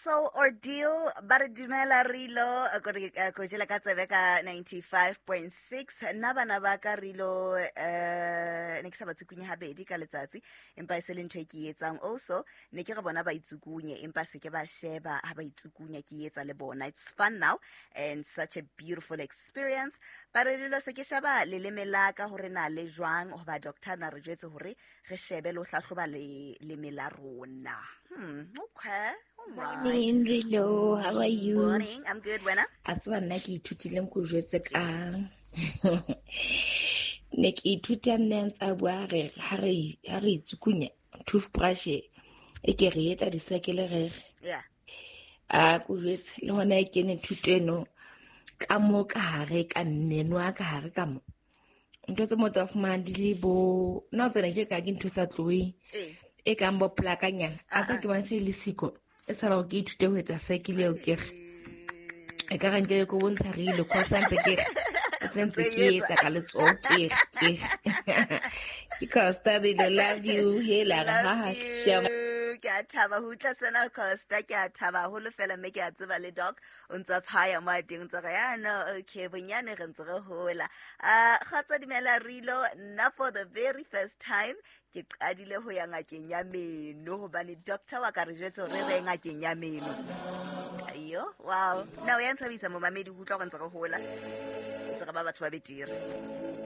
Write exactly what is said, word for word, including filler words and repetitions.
Colossal Ordeal ba re dumela Rilo kore ko jela ka tsebe ka ninety-five point six. Nna bana ba ka Rilo, eh, ne ke sa ba tsukunye habedi ka letsatsi, empa e se le ntho e ke e etsang. Also ne ke re bona ba itsukunye, empa se ke ba sheba ha ba itsukunya, ke etsa le bona. It's fun now and such a beautiful experience. Ba re Rilo, se ke sheba leleme la ka hore na le jwang, hoba doctor na re jwetse hore re shebe le ho hlahloba leleme la rona. Hmm, okay. All right. Morning, Rilo. How are you? Morning. I'm good, wena? A tseba nna ke ithutile ko jwetse ka. Ne ke ithuta mme a ntse a bua re ha re ha re itsukunya toothbrush e ke re etsa di-circle re re. Yeah. A ko jwetse le hona e kene thuto eno ka mo ka hare ka mmeno a ka hare ka mo. Ntho tse motho a fumanang di le bo nna o tsena ke ka ke ntho sa tloheng. Eh. E kang bo plakanyana. A tsa ke bona se le siko. E sala hore ke ithute ho etsa circle eo ke re. E ka re nke be ke bontsha re ile cause ntse ke re. E sentse ke etsa ka letsoho ke re, ke re. Ke Costa Rilo, love you. Hela, Love ha, ha, you. shama. Ke a thaba ho utlwa sena, Costa. Ke a thaba haholo fela, mme ke a tseba le doc o ntsa tshwaya mo a teng, o ntse re, ya, no, okay, bonyane re ntse re hola. Ah, kgotsa dumela Rilo, nna for the very first time ke qadile ho ya ngakeng ya meno, hobane doctor wa ka re jwetse hore re ye ngakeng ya meno. Ayo, wow. Nna o ya nthabisa momamedi ho utlwa hore ntse re hola, ntse re ba batho ba betere.